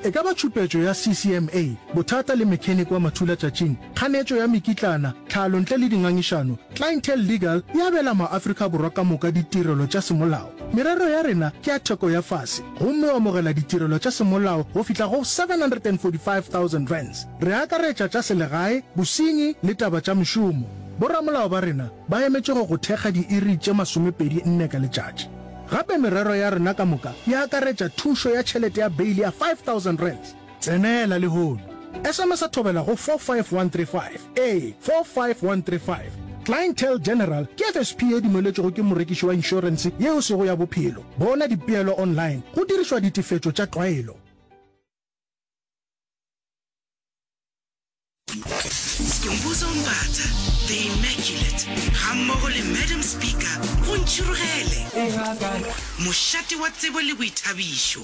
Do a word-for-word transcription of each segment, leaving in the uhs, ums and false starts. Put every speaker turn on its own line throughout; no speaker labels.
E ka ba tšhupetšo ya C C M A, bothata le mechanic wa mathulatšatšing, kganetšo ya mekitlana, tlhalo ntle le dingangišano, Clientele Legal e abela maAfrika Borwa ka moka ditirelo tša semolao. Merero ya rena ke ya theko ya fase gomme o amogela ditirelo tša semolao go fihla go seven hundred and forty-five thousand rands. Re akaretša tša selegae, bosenyi le taba tša mešomo. Boramolao ba rena ba emetše go go thekga diiri tše masomepedi nne ka letšatši. Gape merero ya rena ka moka e akaretša thušo ya tšhelete ya beile ya five thousand rands. Tsenela lehono. S M S a thobela go four five one three five. Ee, four five one three five. Clientele General ke F S P e dumeletšwego ke morekiši wa inšorense yeo sego ya bophelo. Bona dipeelo online go dirišwa ditefetšo tša tlwaelo.
Skhumbuzo Mbatha, The Immaculate, gammogo le Madam Speaker go Ntšhirogele, mošate wa tsebo le boithabišo.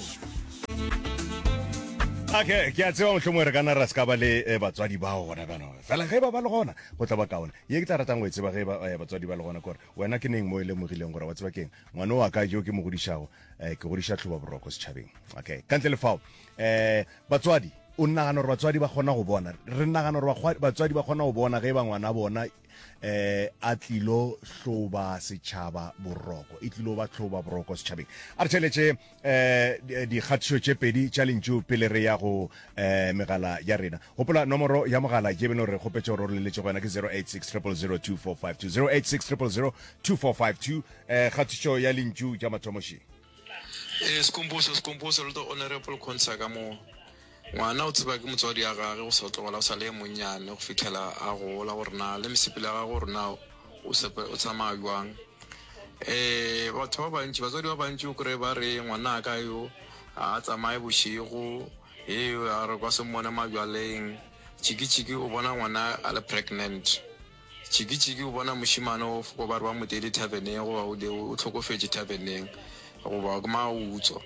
Okay, ke a tseba mohlomongwe re ka na ra se ka ba le eh, batswadi bao gona bjano, fela ge ba ba le gona go tla ba kaone. Ye ke tla ratang go e tseba ge ba eh, batswadi ba le gona kore wena ke neng mo e lemogileng gore wa tseba keng, ngwane wa ka jo ke mo godišago, eh, ke godiša tlhoba boroko setšhabeng? Okay, ka ntle le fao, eh, batswadi, o nagana gore batswadi ba kgona go bona, re nagana gore bakgwa- batswadi ba kgona go bona ge ba ngwana bona eh a tlilo hloba setšhaba boroko, e tlilo ba hloba boroko setšhabeng? A re tšheletše eh dikgatišo tše pedi tša lentšu pele re ya go eh megala ya rena. Gopola nomoro ya mogala ye beno re kgopetše gore o re leletše go yona ke zero eight six zero zero zero two four five two, zero eight six zero zero two four five two. eh kgatišo ya lentšu tša mathomoši.
Ee, Skhumbuzo, Skhumbuzo le the honorable Khonsa ka mo. Ngwana o tseba ke motswadi ya gage go sa tlogela o sa le monnyane go fihlela a gola, gore na le mesepelo ya gage, gore na o sepe o tsamaya jwang. Eh batho ba bantši, batswadi ba bantši o kry ba re ngwana ka yo a tsamaye bošego, he a re kwa se mmone majwaleng. Tšiki tšiki o bona ngwana a le pregnant. Tšiki tšiki o bona mošemane o foko ba re ba mo teile taverneng, goba o o hlokofetše taverneng, goba ke mautswa.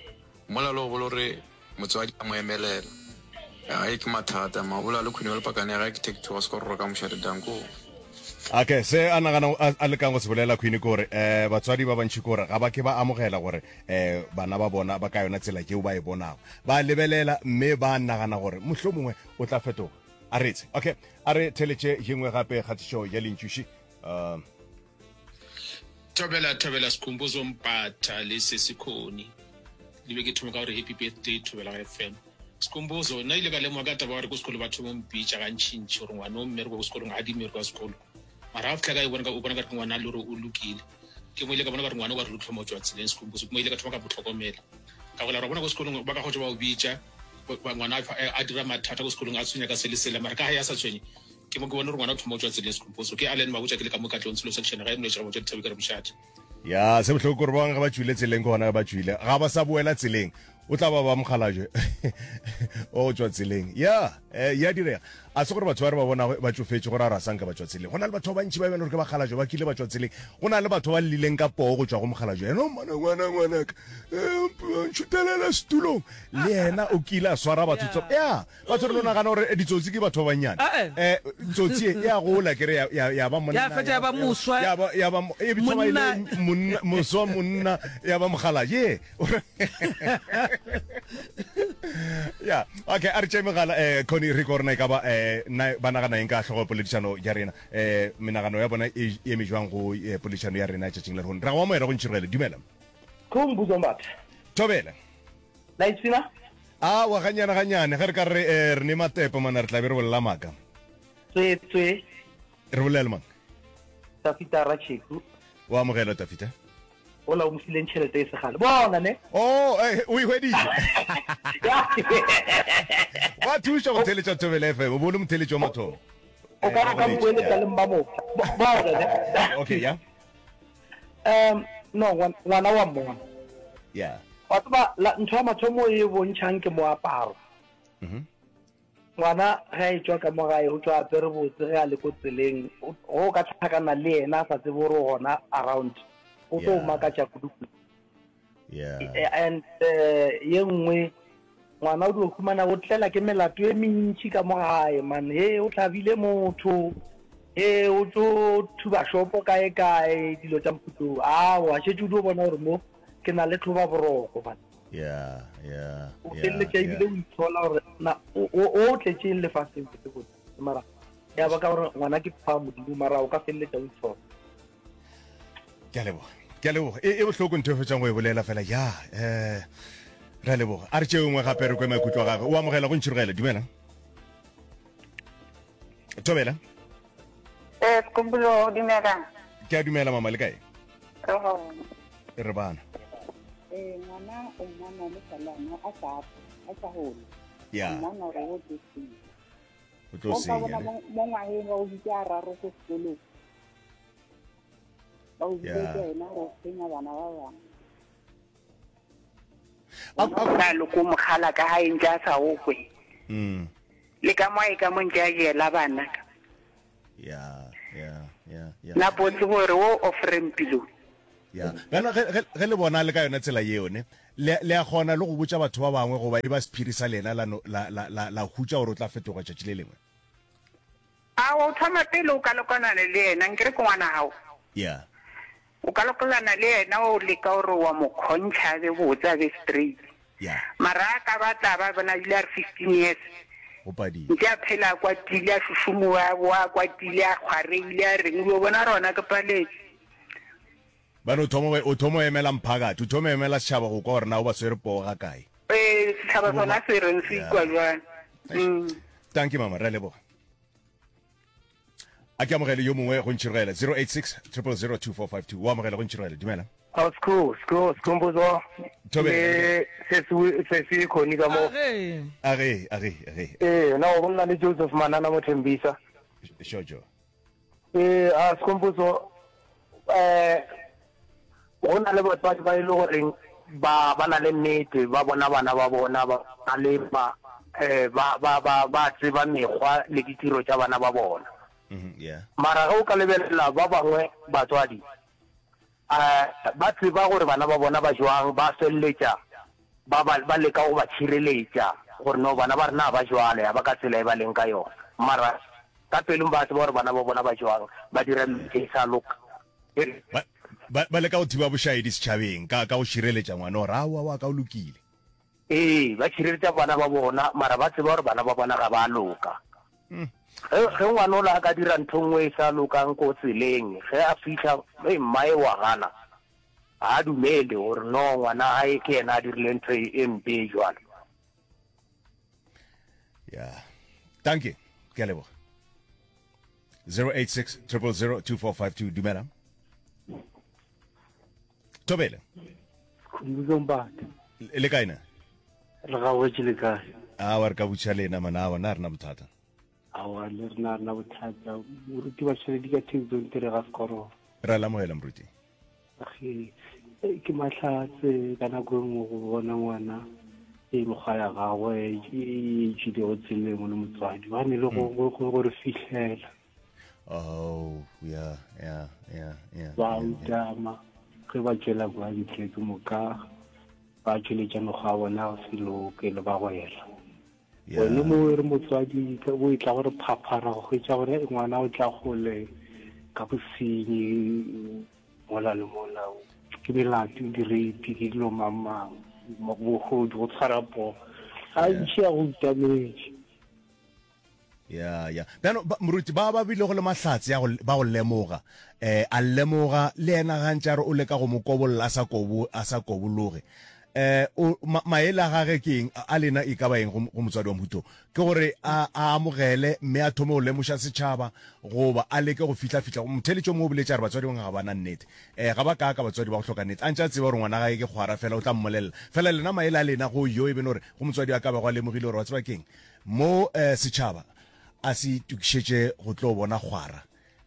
Mola le go bolo re motswadi a mo emelela. Ai ke mathata mabola le khwini wa lepakane ya gae ke take two ga se ka rora ka mošate danko.
Okay, se a nagana a, a lekang go se bolela Queen ke gore eh batswadi ba bantši ke gore ga ba ke ba amogela gore eh bana ba bona ba ka yona tsela yeo ba e bonago. Ba lebelela mme ba nagana gore mohlomongwe o tla fetoga. A retse. Okay, a re theletše ye nngwe gape kgatišo ya lentšuši. Uh,
Thobela, thobela Skhumbuzo Mpatha le Sesikhoni. Le be ke thoma ka gore happy birthday Thobela F M. Skhumbuzo, nna ile ka lemoga ka taba gore ko sekolo batho ba mpitša gantšintši gore ngwana o mmereko ko sekolong ga di mmereko wa sekolo. Mara ga fitlha ka e bona ka o bona ka re ke ngwana le gore o lokile. Ke mo ile ka bona ka re ngwana o ka re lo tlhoma o tswa tseleng Skhumbuzo. Ke mo ile ka thoma ka mo tlhokomela. Ka gola ra bona ko sekolong ba ka go ba o bitša ba ngwana a dira mathata ko sekolong, a tshwenya ka sele sele, mara ka ga ya sa tshwenye ke mo ke bone gore ngwana o thoma o tswa tseleng Skhumbuzo. Ke Allen Mabotja ke le ka mo Katlehong Tsholo section ga e moletše ga botša dithabe ka re mošate.
Ya se bohloko gore ba bangwe ge ba tšwile tseleng ke gona ge ba tšwile, ga ba sa boela tseleng, o tla ba ba mokgalajwe o tšwa tseleng. Ya eh, ya direga, a se gore batho ba re ba bonago ba tšofetše gore a re a sanka ba tšwa tseleng. Go na le batho ba bantši ba bjalo gore ke bakgalajwe ba kile ba tšwa tseleng. Go na le batho ba llileng ka poo go tšwa go mokgalajwe, ena ngwana ngwana ngwanaka, eh, ntšhutelela setulong, le yena o kile a swara batho tso ya batho re no nagana gore ditsotsi ke batho ba bannyane.
Eh.
um tsotsi e ya gola kere ya- ya ya ba monna,
Ya fetša ya ba moswa.
Ya ba ya ba e thoma e le
Monna.
monna, moswa monna, ya ba mokgalabje. Ya okay, a re tšee megala. um Connie, re ko rena e ka ba um na ba nagana eng ka hlogo ya poledišano ya rena, um menagano ya bona e eme jwang go eh, poledišano ya rena tšatšing la lehono? Ra go amogela go Ntšhirogele, dumela.
Khumbuzo Mbatha.
Thobela.
La ipshina?
A wa ganyane ganyane ge re ka re eh, re ne matepe mana re tla be re bolela maaka.
Tswe tswe.
Re bolela mang?
Tafita Racheku.
O amogela Tafita.
Ola o mofileng tšhelete e segale. Bona ne.
Oh, eh, o e hweditše. Wa thuša go theletša Thobela F M, o bo le motheletši wa mathomo.
O ka re ka mpoeletša le mmamotla. Bona ne.
Okay, ya.
Um no, ngwana wa mmona.
Yeah.
Wa tseba ntho ya mathomo e bontšhang ke moaparo.
Mhm.
Ngwana ge a etšwa ka mo gae o tšwa apere botse, ge a le ko tseleng go o ka tlhakana le yena a sa tsebe gore o gona around, o tlo
Yeah.
makatša kudu-kudu.
Yeah.
And eh, ye nngwe ngwana o dio humana o tlela ke melato e mentši ka mo gae man, he o hlabile motho, he o tlo thuba shopo kae kae, dilo tša mohuta oo. Aowa, šetše o dio bona gore mo ke na le tlhoba boroko man.
Ya, ya,
O
ya,
feleletša
ya.
ebile o itshola gore na o o o tletšeng lefaseng botse-botse mara ya ba ka gore ngwana ke pha modimo mara o ka feleletša o itshola.
Ke a leboga. Ke a leboga. E, e bohloko ntho e fetšang go e bolela fela. Ya, eh, re a leboga. A re tšeo nngwe gape re kwe maikutlo a gagwe. O amogela go ntšhirogela. Dumela. Thobela.
Eh, Skhumbuzo, dumela.
Ke a dumela mama le kae?
Re gona.
Re bana.
Eh, ngwana o mmona le salana a sa a sa hole.
Ya.
O mmona gore o tlo senya.
O tlo
O ka
senya.
bona
ne?
mo mo ngwageng ba o bitsa a raro ko sekolong. Ba o bitsa
Ya.
ke ena gore o senya bana ba bangwe.
A- a-
Ka loko mogala ka hae ntse a sa o kwe.
Mm.
Le ka mo e ka mo ntse a jela bana ka.
Ya, ya, ya, ya.
Na botse gore o offering pilo.
Ya. Bjalo ge ge ge le bona le ka yona tsela yeo ne, le le a kgona le go botša batho ba bangwe goba e ba sephiri sa lena la no la la la la hutša gore o tla fetoga tšatši le lengwe.
A o thoma pele o ka lokana le yena nkere ke ngwana gago.
Ya.
O ka lokolana le yena o leka gore wa mo kgontšha a be botse a be straight.
Ya.
Mara a ka batla ba bona ebile a re fifteen years.
Go padile.
Ntse a phela a kwatile a šošomoa a boa a kwatile a kgwareile a reng o bona rona ke paletse.
Ba no thoma o thoma o emela mphakathi, o thoma o emela setšhaba go kwa gore na o ba swere poo ga kae.
Ee, setšhaba sona se reng se ikwa jwang. Mm.
Thank you mama, re a leboga. A ke amogele yo mongwe go ntšhirogela zero eight six triple zero two four five two. O amogela go ntšhirogela. Dumela.
Ao Skhoo, Skhoo, Skhumbuzo.
Thobela.
Le sesi sesi Khoni ka mo.
Age.
Age, age, age.
Eh, na o bolela le Joseph Manana mo Thembisa.
Shojo.
Eh, a Skhumbuzo eh go na le batswadi ba e le goreng ba ba na le nnete ba bona bana ba bona ba ba le ba eh ba ba ba ba tseba mekgwa le ditiro tša bana ba bona.
Mhm, yeah.
Mara ge o ka lebelela ba bangwe batswadi eh ba tseba gore bana ba bona ba jwang, ba feleletša ba ba ba leka go ba tšhireletša gore no bana ba rena ba jwale ha ba ka tsela e ba leng ka yona. Mara ka pelong ba tseba gore bana ba bona ba jwang, ba dira dilo tše sa loka.
Ba ba ba leka go thiba bošaedi setšhabeng ka ka go šireletša ngwana gore aowa wa ka o lokile.
Ee, ba tšhireletša bana ba bona, mara ba tseba gore bana ba bona ga ba loka. Ge ge ngwana ola a ka dira ntho nngwe e sa lokang ko tseleng, ge a fihla, hei, mmae wa gana, ga a dumele gore no ngwana gae ke yena a dirile ntho e, e mpe e jwalo.
Ya. Dankie. Ke a leboga. zero eight six triple zero two four five two. Dumela. Thobela.
Khumbuzo Mbatha.
Le kae na?
Re gabotse le kae?
Awa re ka butša lena mana, awa na rena bothata.
Awa le rena rena bothata. Moruti wa tšheledi ka Taxon tere ga sekoro.
Re a lamogela moruti.
Ge ke mahlatse ka nako e nngwe go bona ngwana e mekgwa ya gagwe e tšwilego tseleng o le motswadi ba ne le go go go re fihlela.
Oh, yeah, yeah, yeah, yeah.
Ba utama ge ba tšwela kwa ntle ke moka ba tšweletša mekgwa ya bona go se loke le ba gwela. Wena mo re motswadi o e tla gore phaphara go hwetša gore ngwana o tla gole ka bosenyi mola le mola ke melato di-rape ke dilo mang mang bogodu go tshwara poo ga ntšhi ya go utametše.
Ya, ya. Bjano, ba, moruti, ba ba bilego le mahlatse ya go, ba go lemoga, eh, a lemoga, le yena gantši a re o leka go mo kobolla a sa kobo, a sa kobologe. Eh, o, ma, maele a gage ke eng, a lena e ka ba eng go, go motswadi wa mohuto? Ke gore a, a amogele mme a thome go lemoša setšhaba, goba a leke go fihla-fihla. Motheeletši yo mongwe o boletše a re batswadi bangwe ga ba na nnete. Eh, ga ba kaaka batswadi ba go hloka nnete. A ntše a tseba gore ngwana gae ke kgwara fela, o tla mmolelela. Fela lena maele a lena go yo e bene gore go motswadi a ka bago a lemogile gore wa tseba keng, mo, eh, setšhaba a se itokišetše go tlo bona kgwara.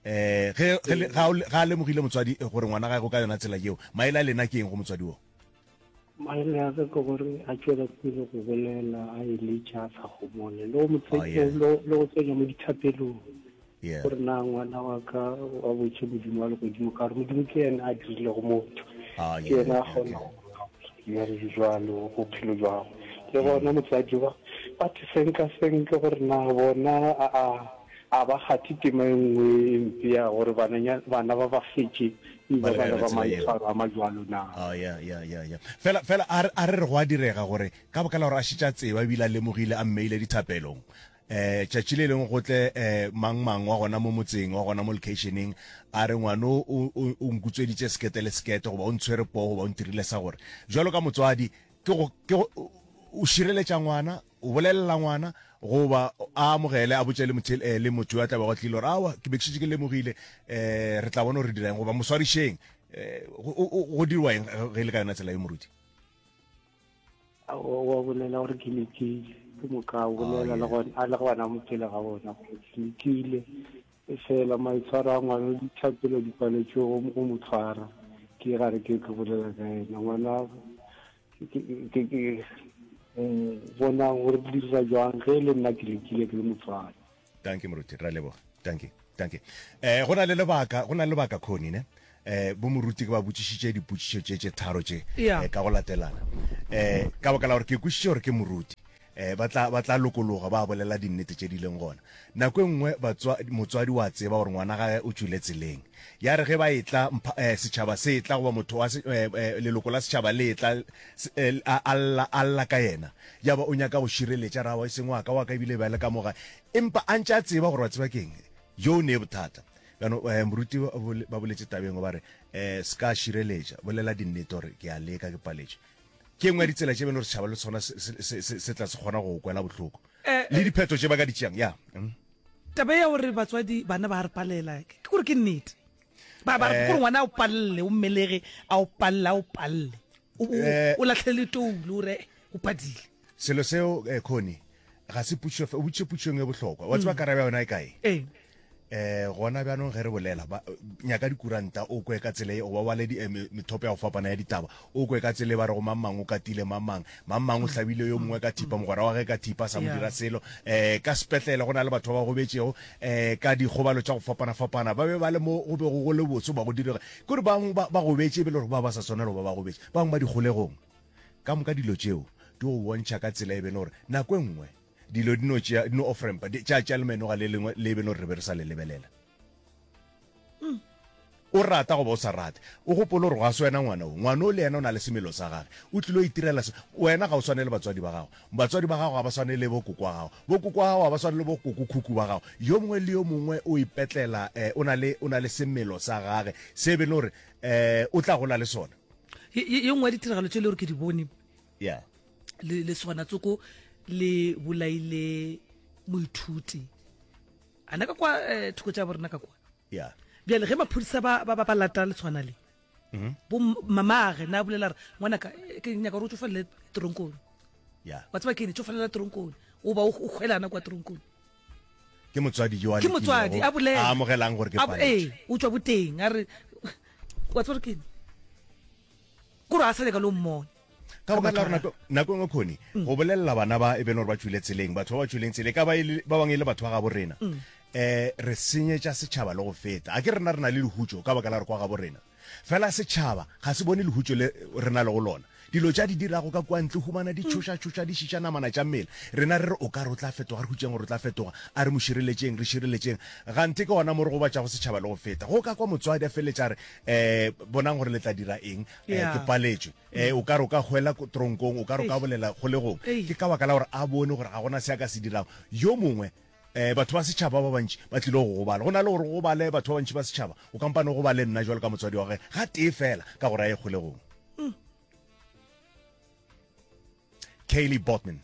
Eh, ge, ge, ga, ga a lemogile motswadi gore ngwana gae go ka yona tsela yeo, maele a lena ke eng go motswadi wo?
Maele a ka ke gore a tšwela pele go bolela, a eletša, a sa homole, le go mo
Oh, yeah.
le go tsenya mo dithapelong.
Yeah.
Gore na ngwana wa ka wa botše Modimo wa legodimo, ka gore Modimo ke yena a dirilego motho.
Ah,
Ke
yeah,
yena a
okay.
kgona go bjalo jwalo bophelo jwa gagwe. Le bona motswadi ba ba te senka senke gore na bona a a A ba kgathe tema e nngwe e mpe ya gore bananya, bana ba ba fetše e
Ba
ba
le ka
bana
yona
ba
tsela yeo.
maitshwaro a majwalo na?
Oh, ya, ya, ya, ya. Fela, fela a re, a re re go a direga gore ka baka la gore a šetše a tseba ebile a lemogile a mmeile dithapelong, eh, tšatši le lengwe go tle eh, mang mang wa gona mo motseng, wa gona mo locationeng, a re ngwano o, o, o nkutsweditše sekete le sekete, goba o ntshwere poo, goba o ntirile sa gore. Jwalo ka motswadi, ke go, ke go, o šireletša ngwana, o bolelela ngwana, goba a amogele, a botše le motho, eh, le motho yo a tla bego a tlile gore, aowa, ke be ke šetše ke lemogile, eh, re tla bona gore re dira eng, goba mo swarišeng. Eh, go, go, go dirwa eng ge e le ka yona tsela ye, moruti?
Aowa, wa bolela gore ke lekile, ke moka a
Oh,
bolela le
yeah.
gona, a le gona mo pele ga bona gore ke lekile, efela maitshwaro a ngwana, dithapelo di paletšwe go, go mo tshwara. Ke gare ke ke bolela ka yena ngwana, ke, ke, ke, bona gore di dira jwang ge e le nna ke lekile ke le motswadi.
Dankie moruti, ra leboga. Dankie, dankie. Eh, go na le lebaka, go na le lebaka Connie, ne? Eh, bo moruti ke ba botšišitše dipotšišo tše tše tharo tše,
Yeah.
eh, ka go latelana. Eh, ka baka la gore ke kwešiše gore ke moruti. Eh, ba tla, ba tla lokologa ba bolela dinnete tše di leng gona. Nako e nngwe batswa, motswadi wa tseba gore ngwana gage o tšwile tseleng. Ya re ge ba etla, mpha, eh, setšhaba se etla, goba motho wa se, eh, eh, leloko la setšhaba le etla, se, eh, a, a lla, a lla ka yena. Ya ba o nyaka go šireletša, ra wa e seng wa ka, wa ka ebile ba le ka mo gae. Empa a ntše a tseba gore wa tseba keng, yo o ne bothata. Bjano, eh, moruti ba bole-, ba boletše tabeng ba re, eh, se ka šireletša, bolela dinnete gore ke a leka, ke paletšwe. Ke nngwe ya ditsela tše bjalo gore setšhaba le sona se, se, se, se, se tla se kgona go kwela bohloko.
Eh,
Le diphetho tše ba ka di tšeang, ya. Mm.
Taba ya gore batswadi bana ba re palela, ke gore ke nnete. Ba, ba re
Eh.
gore ngwana a o palelle, o mmelege, a o palle, a o palle. O, o,
Eh.
o lahlele toulo, o re o padile.
Selo seo, eh, Connie, ga se potšišo fe-, o botšiše potšišo e bohlokwa. Wa tseba
Mm.
karabo ya yona e kae?
Ee.
Eh, gona bjanong ge re bolela, ba, nyaka dikuranta, o kwe ka tsela e, goba o bale di, eh, me-, methopo ya go fapana ya ditaba, o kwe ka tsela e ba rego mang mang o katile mang mang, mang mang o hlabile yo mongwe ka thipa, mogwera wa ge ka thipa, sa mo
Yeah.
dira selo. Eh, ka sepetlele go na le batho ba ba gobetšego, eh, ka dikgobalo tša go fapana-fapana, ba be ba le mo go bego go le botse ba go direga. Ke gore bangwe ba, ba gobetše e be le gore ba ba sa swanela go ba ba gobetše, ba bangwe ba dikgolegong. Ka moka dilo tšeo di go bontšha ka tsela e be le gore nako e nngwe dilo di no tšea, di no off-rampa, di tša tšea lemenoga le lengwe le be le gore re be re sa le lebelela.
Mm.
O rata goba o sa rate, o gopole gore ga se wena ngwana o. Ngwana o le yena o na le semelo sa gage, o tlilo itirela se. Wena ga o swane le batswadi ba gago, batswadi ba gago ga ba swane le bo koko wa gago, bo koko wa gago ga ba swane le bo koko khukhu ba gago. Yo mongwe le yo mongwe o ipetlela, eh, o na le, o na le semelo sa gage se be le gore, eh, o tla gola le sona.
Ye, ye, ye nngwe ya ditiragalo tše le gore ke di bone,
Yeah.
le, le sona tsoko le bolaile moithuti. Ana ka kwa, eh, thoko tša borena ka kwa.
Yeah.
Bjale ge maphodisa ba, ba, ba, ba lata letshwana le,
Mm-hmm.
bo m-, mamage na bolela re, ngwanaka, eh, ke nyaka gore o tšofalele toronkong.
Yeah.
Wa tseba ke eng, tšofalela toronkong, o ba o, o hwelana kwa toronkong.
Ke motswadi yo a
Ke motswadi,
lekilego,
a bolela.
a amogelang gore ke
A bo-,
paletšwe.
ee, o tšwa boteng, a re, wa tseba gore ke eng? Kore a sa nyaka le o mmona.
Ka baka la gore nako, nako e nngwe Connie,
Mm.
go bolelela bana ba e be le gore ba tšwile tseleng, batho ba ba tšwileng tseleng, ka ba e le, ba bangwe e le batho ba gabo rena,
Mm.
eh, re senyetša setšhaba le go feta. A ke rena re na le lehutšo ka baka la re kwa gabo rena. Fela setšhaba ga se bone lehutšo le re na le go lona. Dilo tša di dirago ka kwa ntle, humana di tšhoša-tšhoša, di šiša namana tša mmele. Rena re re o ka re o tla fetoga, re hutšeng gore o tla fetoga, a re mo šireletšeng, re šireletšeng. Gante ke gona mo re gobatšago setšhaba le go feta. Go ka kwa motswadi a feleletša a re, eh, bonang gore le tla dira eng, eh,
Yeah.
ke paletšwe. Eh, o ka re o ka hwela ko tronkong, o ka re o ka
Eish.
bolela kgolegong.
Eish.
Ke ka baka la gore a bone gore ga gona se a ka se dirago. Yo mongwe, eh, batho ba setšhaba ba bantši ba tlile go gobala. Go na le gore go gobale batho ba bantši ba setšhaba, o kampane go gobale nna jwalo ka motswadi wa gage ga tee fela ka gore a ye kgolegong.
Mm.
Kaylee Botman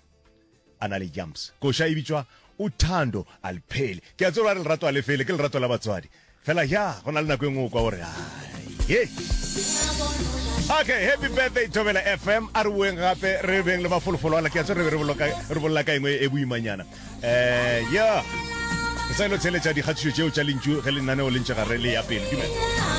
a na le jumps. Koša e bitswa Uthando Alphele. Ke a tseba gore lerato a le fele, ke lerato la batswadi. Fela ya, go na le nako e nngwe o kwa gore, ai, ye. Okay, happy birthday Thobela F M. A re boeng gape re beng le mafolofolo ala. Ke a tseba re be re boloka, re bolela ka engwe e boimanyana. Eh, ya. Re sa ilo tsheletša dikgatišo tšeo tša lentšu ge lenaneo le ntše gare le ya pele. Dumela.